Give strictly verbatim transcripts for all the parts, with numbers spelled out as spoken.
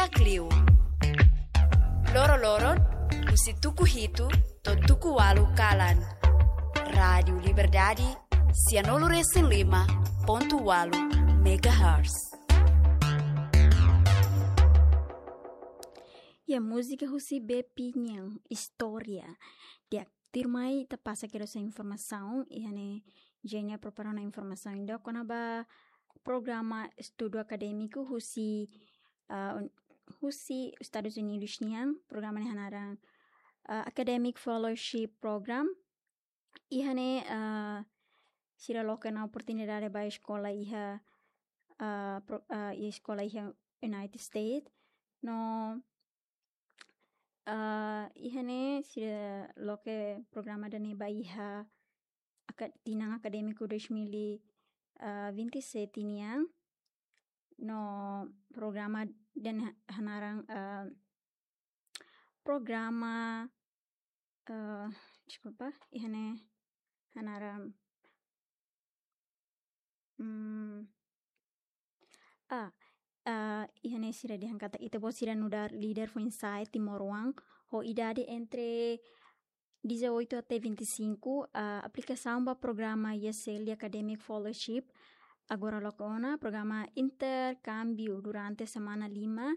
Liu. Loro-loron, husi tuku hitu to'o tuku ualu kalan. Rádiu Liberdade, sianulu resin lima pontu ualu megahertz. Ya, múzika husi Bepi nian, Istória. Di'ak, tuirmai ita pasa kedas informasaun, iha ne'e Jenia prepara ona informasaun ida kona-ba programa estudu akadémiku husi, ah, un-, husi Estadus Unidus nian, programa ne'e hanaran, ah, Academic Fellowship Program. Iha ne'e, ah, sira loke ona oportunidade ba eskola iha, ah, pro-, ah, iha eskola iha United States. No, ah, iha ne'e sira loke programa ida-ne'e ba iha aka-, tinan akadémiku dois mil e vinte e sete nian. No programa ida-ne'e ha-, hanaran, ah, programa, ah, deskulpa, iha ne'e hanaran, hmm, ah, ah, iha ne'e sira dehan katak ita-boot sira nu'udar líder foin-sa'e timoroan ho idade entre dezoito até vinte e cinco, ah, aplikasaun ba programa E S L Academic Fellowship agora loke ona, programa interkámbiu durante semana lima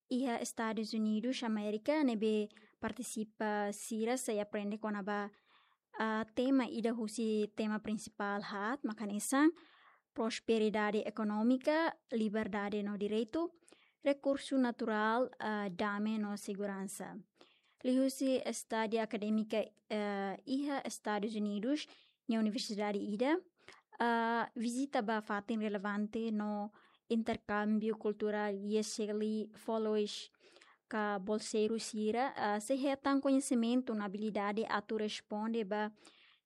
iha Estadus Unidus Amérika, ne'ebé partisipa sira sei aprende kona-ba, ah, tema ida husi tema prinsipál haat, mak hanesan prosperidade ekonómika, liberdade no direitu, rekursu naturál, ah, dame no seguransa. Liuhusi estada akadémika, ah, iha Estadus Unidus, nia universidade ida, ah, vizita ba fatin relevante no interkámbiu kulturál E S L fellows ka bolseiru sira, ah, sei hetan koñesimentu no abilidade atu responde ba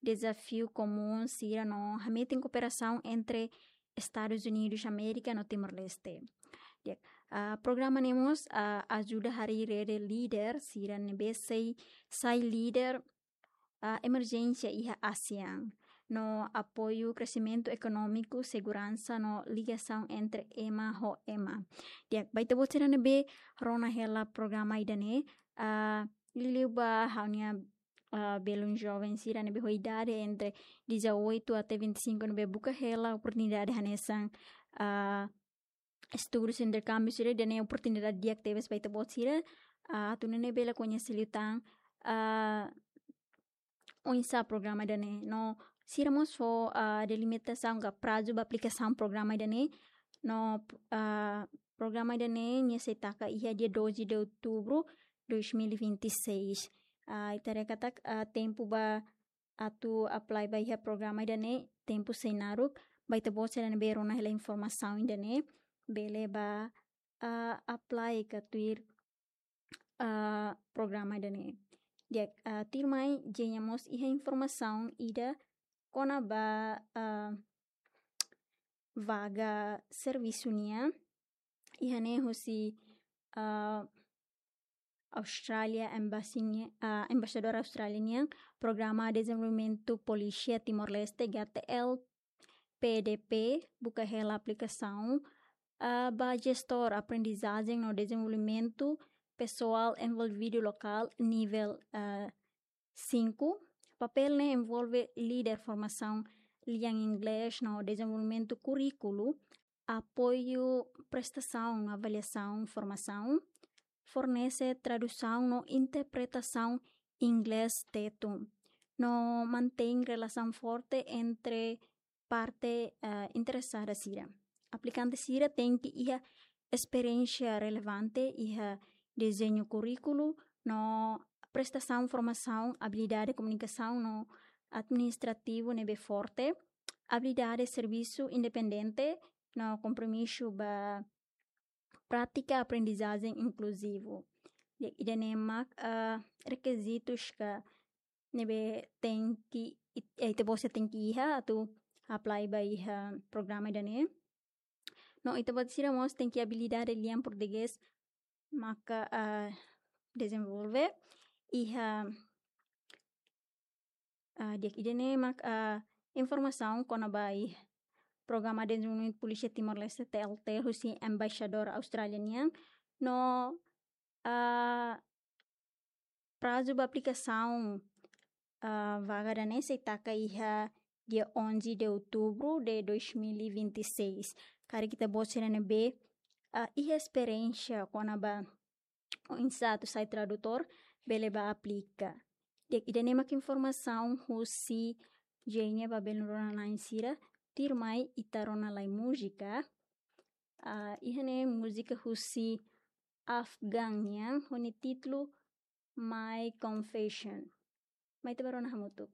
dezafiu komún sira no hametin kooperasaun entre Estadus Unidus Amérika no Timor-Leste. Di'ak, ah, programa ne'e mós, ah, ajuda harii rede líder sira ne'ebé sei sai líder, ah, emerjénsia iha ASEAN, no apoiu kresimentu ekonómiku, seguransa no ligasaun entre ema ho ema. Di'ak, ba ita-boot sira ne'ebé rona hela programa ida-ne'e, ah, liuliu ba ha'u-nia, ah, belun joven sira ne'ebé ho idade entre dezoito até vinte e cinco ne'ebé buka hela oportunidade hanesan, ah, estudu interkámbiu sira, ida-ne'e oportunidade di'ak tebes ba ita-boot sira, ah, atu nune'e bele koñese liután, ah, oinsá programa ida-ne'e. No sira mós fó, ah, delimitasaun ka prazu ba aplikasaun programa ida-ne'e. No, ah, programa ida-ne'e nia sei taka iha dia doze de outubro dois mil e vinte e seis. Ah, ita haree katak, ah, tempu ba atu apply ba iha programa ida-ne'e tempu sei naruk, ba ita-boot sira ne'ebé rona hela informasaun ida-ne'e bele ba, ah, apply ka tuir, ah, programa ida-ne'e. Di'ak, ah, tuirmai Jenia mós iha informasaun ida kona-ba, ah, vaga servisu nian. Iha ne'e husi, ah, Austrália Embassy nia, ah, Embaixadór Austrália nian, Programa Dezenvolvimentu Polísia Timor-Leste, G T L P D P, buka hela aplikasaun, ah, ba jestór aprendizajen no dezenvolvimentu pesoál envolvidu lokál nivel, ah, cinco. Papél ne'e envolve lidera formasaun lian inglés no dezenvolvimentu kurríkulu, apoiu prestasaun, avaliasaun, formasaun, fornese tradusaun no interpretasaun inglés Tetun, no mantein relasaun forte entre parte, eh, interesada sira. Aplikante sira tenke iha esperiénsia relevante iha dezeñu kurríkulu no prestasaun formasaun, abilidade komunikasaun no administrativu ne'ebé forte, abilidade servisu independente no kompromisu ba prátika aprendizajen inkluzivu. Di'ak, ida-ne'e mak, ah, rekizitus ka ne'ebé tenke, it-, eh, ita-boot sira tenke iha atu apply ba iha programa ida-ne'e. No ita-boot sira mós tenke abilidade lian portugés maka, ah, dezenvolve iha, ah, di'ak, ida-ne'e mak, ah, informasaun kona-ba iha Programa Dezenvolvimentu Polísia Timor-Leste, T L T, husi Embaixadór Austrália nian, No, ah, prazu ba aplikasaun, ah, vaga ida-ne'e sei taka iha dia onze de outubro de dois mil e vinte e seis. Karik ita-boot sira ne'ebé, ah, iha esperiénsia kona-ba oinsá atu sai tradutór, bele bá aplika. Di'ak, ida-ne'e mak informasaun husi Jenia ba belun rona-na'in sira, tuirmai ita rona lai múzika. Ah, iha ne'e múzika husi Afgan nian, ho nia títulu My Confession. Mai ita bá rona hamutuk.